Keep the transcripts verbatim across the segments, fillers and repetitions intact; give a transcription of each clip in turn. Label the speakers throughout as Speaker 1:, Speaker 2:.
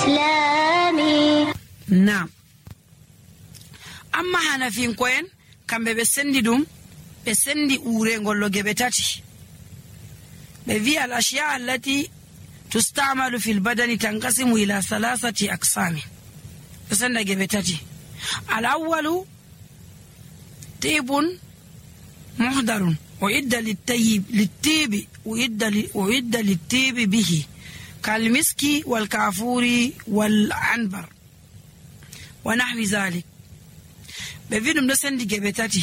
Speaker 1: إسلامي.
Speaker 2: نعم. amma hanafinko en kambe be sendi dum be sendi urengol lo gebe tati be vi al ashya allati tustamalu fil badani tanqasimu ila thalathati aqsam be senda gebe tati al awwalu tibun muhdarun wa idda lit-tayyib lit-tibi wa idda wa idda lit-tibi bihi kal miski wal kafuri wal anbar wa nahwi zalik. be vidum do sendi gebe tati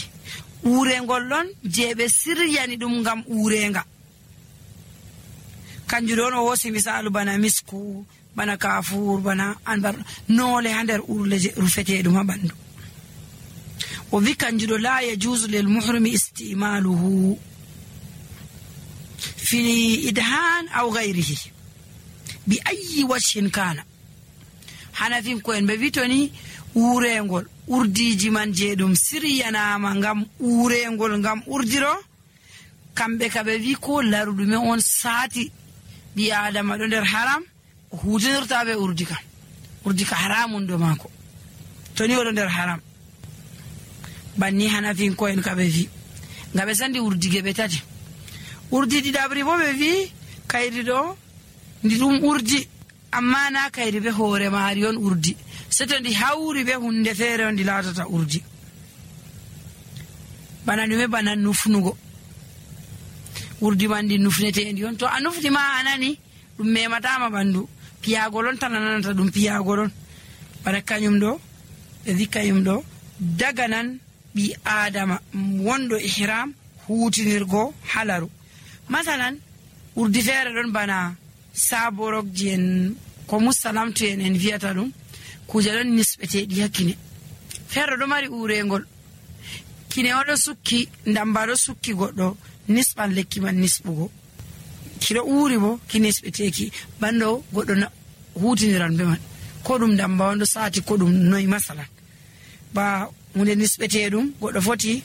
Speaker 2: urengol lon je be siryani dum ngam urenga kanju don o wosi misalu bana misku bana kafur bana anbar nole hander urle je rufete dum bandu o vi kanju do la yajuzu lil muhrimi istimaluhu fi idhan aw ghayrihi bi ayyi wajhin kana. hanafin ko en be vitoni urengol urdiji man je dum siryanama ngam urengol ngam urdiro kambe kabe wi ko larudume on saati bi adama do der haram hutinirta be urdika urdika haramun do mako toni o do der haram banni hanafin ko en kabe wi ngabe sandi urdige be tati urdi di dabri bo be wi kayri do ndi dum urdi amma na kayri be hore marion urdi seto ndi hawri be hunde fere on di latata urdi bana dume bana nufnugo urdi bandi nufnete endi on to anufti ma anani dum memata ma bandu piyagolon tanananta dum piyagolon bara kanyum do e dikayum do daganan bi adama wondo ihram hutinirgo halaru masalan urdi fere don bana saborok jen ko musalamtu en en viata dum kujalon nisbete di hakine ferro do mari urengol kine odo sukki ndambaro sukki goddo nisban lekki man nisbugo kiro uri bo kinisbeteki bando goddo hutiniran be man ko dum ndamba wondo saati ko dum noy masalan ba hunde nisbete dum goddo foti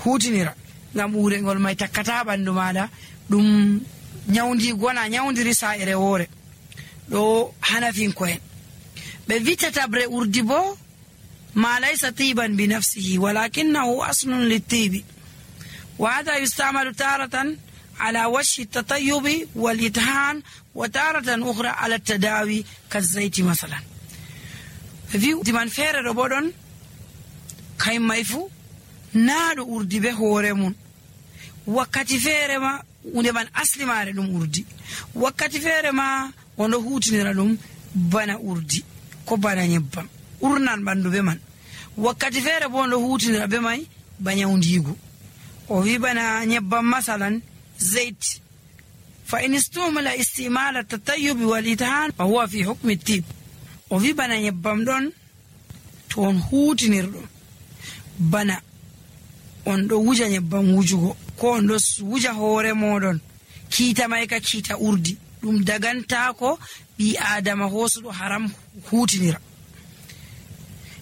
Speaker 2: hutinira ngam urengol may takkata bandu mada dum nyawndi gona nyawndiri sa ere wore do hanafin ko en be vitata bre urdibo ma laysa tiban bi nafsihi walakinahu aslun lit-tibi wa hadha yustamalu taratan ala wajhi at-tatayyub wal-ithan wa taratan ukhra ala at-tadawi kaz-zayt masalan vi diman fere do bodon kay mayfu naado urdibe hore mun wakati fere ma unde man asli mare dum urdi wakati fere ma wondo hutinira dum bana urdi ko bana nyebbam urnan bandu be man wakati fere bo wondo hutinira be may banyawndigo o wi bana nyebbam masalan zait fa in istumala istimal at-tatayyub wal ithan fa huwa fi hukm at-tib o wi bana nyebbam don ton hutinirdo bana on do wuja nyebbam wujugo ko on do wuja hore modon kita may ka kita urdi dum daganta ko bi adama hosudo haram hutinira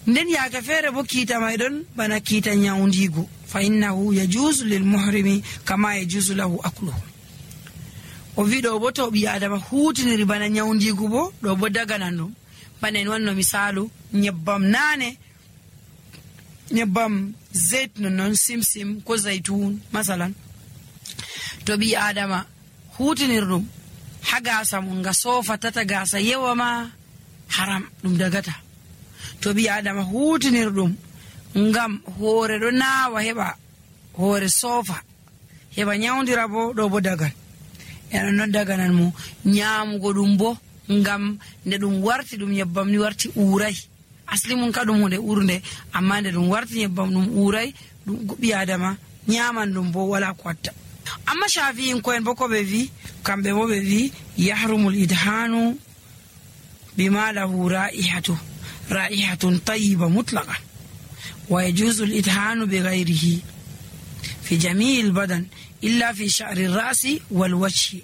Speaker 2: nden yaaka fere bo kita may don bana kita nyawndigo fa innahu yajuzu lil muhrimi kama yajuzu lahu akluhu o vido bo to bi adama hutiniri bana nyawndigo bo do bo daganando bana en wanno misalu nyebbam nane nyebbam zait non simsim ko zaitun masalan to bi adama hutinirdum haga samun ga sofa tata gasa yewa ma haram dum dagata to bi adama hutinirdum ngam hore do nawa heba hore sofa heba nyawndira bo do bo dagal yana non daganan mo nyaamugo dum bo ngam nde dum warti dum nyebbam ni warti uray asli mun kadum hunde urde amma nde dum warti nyebbam dum uray dum gobi adama nyaman dum bo wala kwatta amma shafi'in ko en boko be vi kambe bo be vi yahrumul idhanu bima lahu ra'ihatu ra'ihatun tayyiba mutlaqa wa yajuzu al idhanu bighayrihi fi jami' al badan illa fi sha'r al ra's wal wajh